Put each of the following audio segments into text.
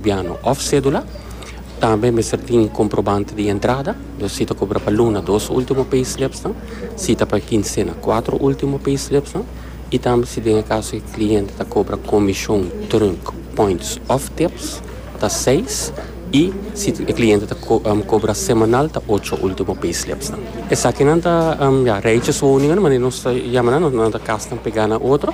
Biano of cedula. Tambe mester tin comprobante di entrada, dus si ta cobra pa luna dos ultimo payslipsnan, si ta pa quincena cuatro ultimo payslipsnan y tambe si den e caso e cliente ta cobra comision, trunk, points of tips ta seis y si e cliente ta cobra semanal ta ocho ultimo payslipsnan. Esakinan ta ya rijtjeswoningen manera nos ta yama nan, nan ta casnan pega na otro.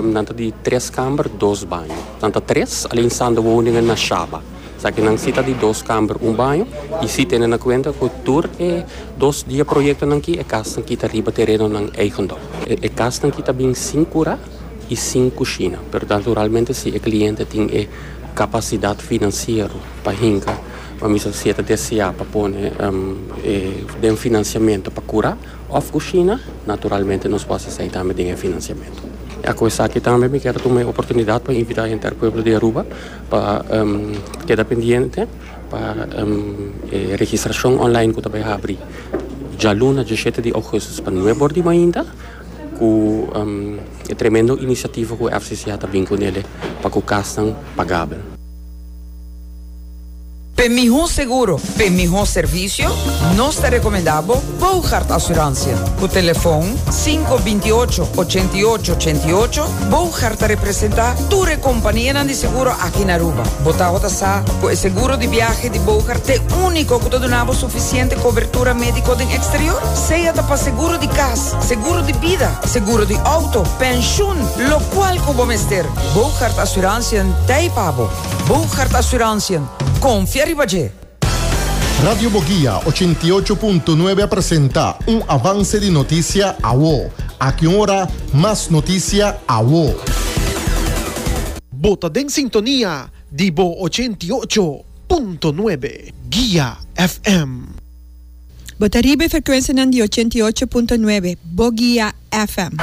Nan ta di tres kamber, dos baño. Nan ta tres alleenstaande woningen na Shaba. Esaki nan si ta di dos kamber, un baño. I si tene na kuenta ku tur e dos di e proyektonan aki, e kasnan ki ta riba terenonan eigendom. E kasnan ki ta bin sin kura i sin kushina. Pero naturalmente si e kliente tin e kapasidat finansiero pa hinka, pa misa si e ta deseá pa pone e den finansiamentu pa kura, Of kushina, naturalmente nos por hasi esei tambe den e finansiamentu. Ya ku esaki tambe mi kier a tuma e oportunidat pa invitá henter pueblo di Aruba pa keda pendiente pa e registrashon online ku ta bai habri djaluna dieshete di ougùstus pa nuebe or di mainta ku e tremendo inisiativa ku FCCA ta bin kunele pa ku kasnan pagabel. P'e mihó seguro, p'e mihó servisio, nos ta rekomendá bo Boogaard Assurantie. Ku telefon sinku binti ocho, ochenta i ocho, ochenta i ocho, Boogaard ta representá tur e kompanianan di seguro aki na Aruba. Bo tabata sa ku e seguro di biahe di Boogaard t'e úniko ku ta duna bo sufisiente kobertura médiko den eksterior? Sea ta pa seguro di kas, seguro di bida, seguro di outo, penshun, lokual ku bo mester, Boogaard Assurantie t'ei pa bo. Boogaard Assurantiën, konfia riba dje! Radio Boguia ochenta i ocho punto nuebe a presenta un avance di noticia awo. Aki un ora, mas noticia awo. Bo ta den sintonia di bo 88.9 Guia FM. Bo ta riba e frekuensianan di 88.9 Boguia FM.